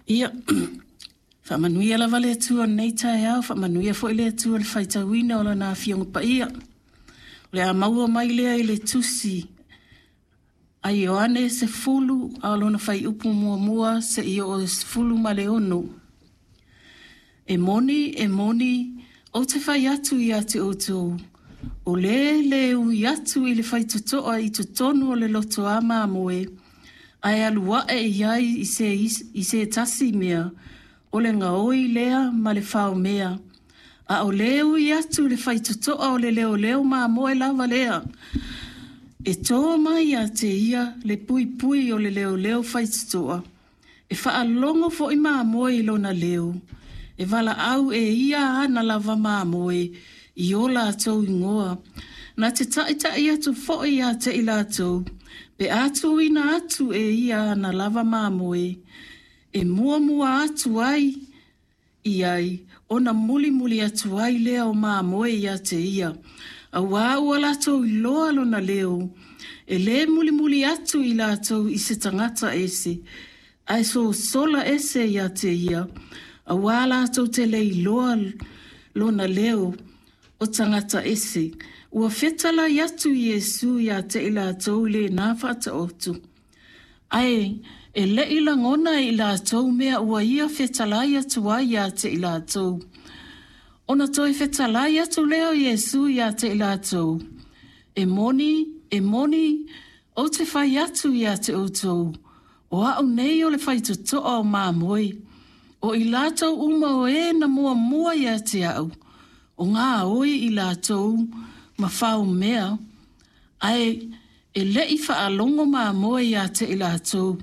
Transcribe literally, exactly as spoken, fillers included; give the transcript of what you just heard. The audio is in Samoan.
Ia, faamanuia lava le Atua i lenei taeao, faamanuia foi le Atua i le faitauina o Lana Afioga Paia. O le a maua mai lea i le tusi a Ioane sefulu a o lona fuaiupu muamua seia oo i le sefulu ma le ono. E moni, e moni, ou te fai atu ia te outou, o le le ui atu i le faitotoa i totonu o le lotoa mamoe, ae alu ae i ai i se, i se tasi mea, o le gaoi lea ma le faomea. A o le ui atu i le faitotoa o le leoleo mamoe lava lea. E to mai ia te ia le puipui o le leoleo faitotoa, e faalogo foi mamoe i lona leo, e valaau e ia ana lava mamoe i o latou igoa. Na te taitai atu foi ia te i latou, pe a tuuina atu e ia ana lava mamoe, e muamua atu ai i ai, ona mulimuli atu ai lea o mamoe ia te ia. Auā ua latou iloa lona leo, e le mulimuli atu i latou i se tagata ese, ae sosola ese ia te ia, auā latou te le iloa lona leo o tagata ese. Ua fetalai atu Iesu ia te i latou i lena faataoto, ae e le i lagona e i latou mea ua ia fetalai atu ai ia te i latou. Ona toe fetalai atu lea o Iesu ia te i latou, e moni, e moni, ou te fai atu ia te outou, o au nei o le faitotoa o mamoe, o i latou uma o e na muamua ia te au, o gaoi i latou ma faomea, ae e le i faalogo mamoe ia te i latou,